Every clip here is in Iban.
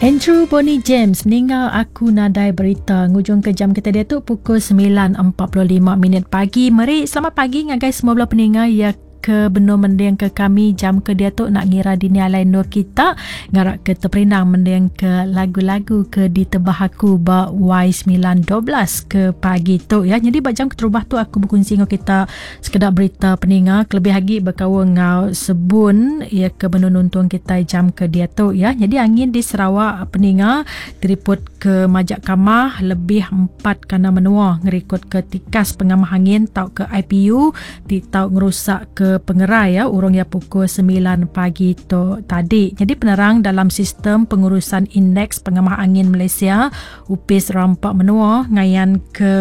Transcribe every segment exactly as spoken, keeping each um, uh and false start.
Andrew Bonnie James ninga aku nadai berita ngujung ke jam kita dia tu pukul sembilan empat puluh lima minit pagi. Meri selamat pagi ngagai semua bela peninga ya ke benar mending ke kami jam ke dia tu nak ngira dini alai nur kita ngarak ke terperindang mending ke lagu-lagu ke ditebah aku ba Y sembilan dua belas ke pagi tu ya. Jadi ba jam keterubah tu aku berkongsi dengan kita sekedar berita peninga kelebih lagi berkaul ngau sebun ya ke benar nonton kita jam ke dia tu ya. Jadi angin di Sarawak peninga teriput ke Majak Kamah lebih empat kana menua ngerikut ke tikas pengamah angin tau ke I P U ti tau ngerusak ke pengerai ya urang ya pukul sembilan pagi tu tadi. Jadi penerang dalam sistem pengurusan indeks pengamah angin Malaysia Upis Rampak Menua ngayan ke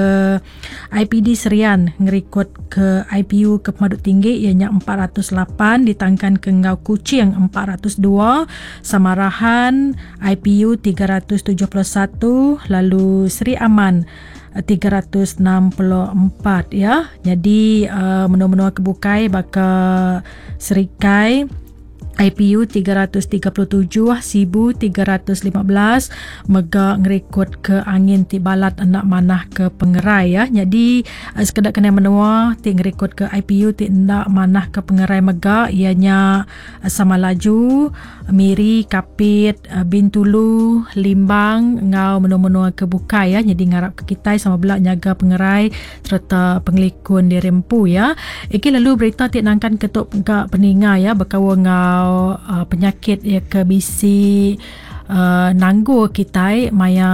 I P D Serian ngerikut ke I P U ke pemaduk tinggi ianya empat ratus lapan ditangkan ke Ngau Kuching empat ratus dua, Samarahan I P U tiga ratus tujuh puluh satu, lalu Seri Aman tiga ratus enam puluh empat ya. Jadi uh, menua-menua kebukai baka Serikai I P U tiga ratus tiga puluh tujuh, Sibu tiga ratus lima belas, mega ngerikut ke angin ti balat enak manah ke pengerai ya. Jadi sekedar kena menua ti ngerikut ke I P U ti enak manah ke pengerai mega ianya Samalaju, Miri, Kapit, Bintulu, Limbang ngau menua-menua ke bukai ya. Jadi ngarap ke kita sama belak nyaga pengerai serta pengelikun diri empu ya. Iki lalu berita ti nangkan ketuk gak peninga ya berkaul ngau Uh, penyakit ya ke bisi uh, nanggu kita maya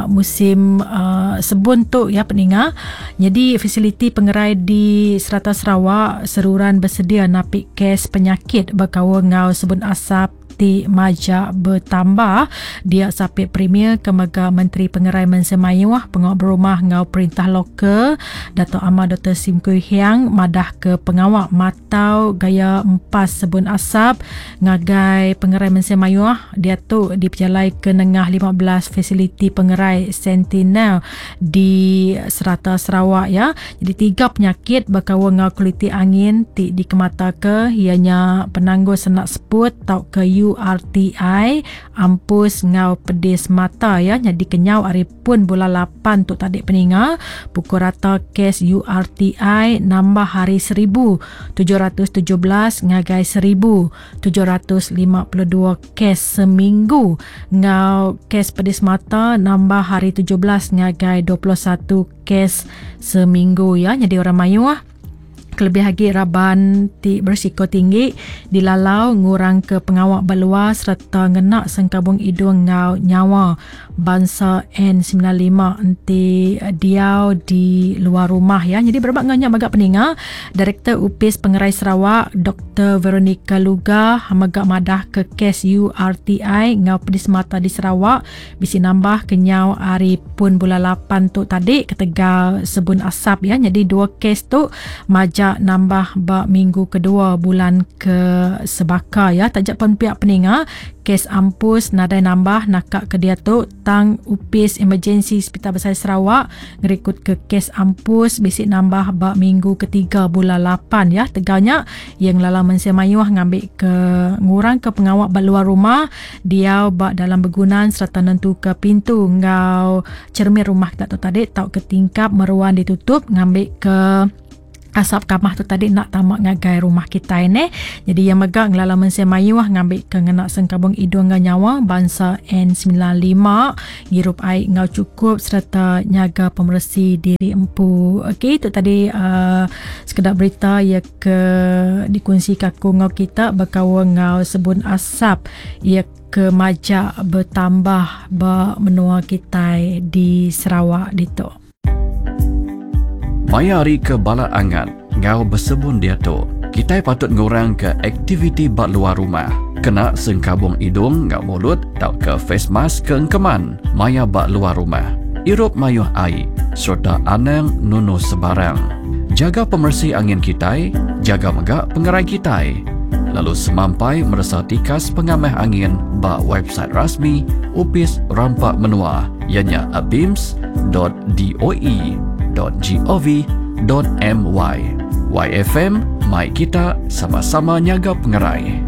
musim uh, sebun tu ya peninga. Jadi fasiliti pengerai di serata Sarawak seruran bersedia napik kes penyakit berkaul ngau sebun asap ti majak bertambah. Dia sapit Premier Kemaga Menteri Pengerai Mensemayuh Pengawal Berumah ngau Perintah Lokal Dato' Amar Doktor Sim Kui Hiang madah ke pengawak matau gaya empas sebun asap ngagai Pengerai Mensemayuh dia tu diperjalai ke nengah lima belas fasiliti pengerai Sentinel di serata Sarawak ya. Jadi tiga penyakit berkaul ngau kualiti angin ti dikemata ke ianya penangguh senak seput tau ke U R T I ampus ngau pedis mata ya. Jadi kenyau hari pun bulan lapan tu tadi peninga pukul rata kes U R T I nambah hari seribu tujuh ratus tujuh belas ngagai seribu tujuh ratus lima puluh dua kes seminggu. Ngau kes pedis mata nambah hari tujuh belas ngagai dua puluh satu kes seminggu ya. Jadi orang mayuh kelebih lagi raban ti berisiko tinggi dilalau ngurang ke pengawak berluar serta ngenak sengkabung hidung ngau nyawa bangsa N sembilan lima enti diau di luar rumah ya. Jadi berbak nganyak magak peninga Direktur Upis Pengerai Sarawak Doktor Veronica Luga magak madah ke kes U R T I ngau pedis mata di Sarawak bisi nambah kenyau hari pun bulan lapan tu tadi ketegal sebun asap ya. Jadi dua kes tu majak nambah bak minggu kedua bulan ke sebaka ya. Tajak pun pihak peninga kes ampus nadai nambah nakak ke dia tu tang upis emergency Hospital Besar Sarawak ngerikut ke kes ampus bisik nambah bak minggu ketiga bulan lapan ya. Teganya yang lala mensia mayuh ngambil ke ngurang ke pengawak bak luar rumah diau bak dalam begunan serta nentu ke pintu ngau cermin rumah tak tu tadi tau ke tingkap meruan ditutup ngambil ke asap kamah tu tadi nak tamak ngagai rumah kita ini. Jadi yang megak ngelala mensia mayuh ngambil ke ngenak sengkabung hidung ngau nyawa bangsa N sembilan lima ngirup air ngau cukup serta nyaga pemersi diri empu. Okey, itu tadi uh, sekedar berita ya ke dikongsi kaku ngau kita berkawan ngau sebun asap ya ke majak bertambah ba menua kita di Sarawak ditu. Maya hari ke bala angat, ngau bersebun dia tu. Kita patut ngurang ke aktiviti bak luar rumah. Kena sengkabung hidung ngau mulut tau ke face mask ke engkeman maya bak luar rumah. Irup mayuh air serta anang nunu sebarang. Jaga pemersi angin kita, jaga megak pengerai kita. Lalu semampai merasa tikas pengamah angin bak website rasmi Upis Rampak Menua ianya abims dot doe dot gov dot my. Y F M, mai kita sama-sama nyaga pengerai.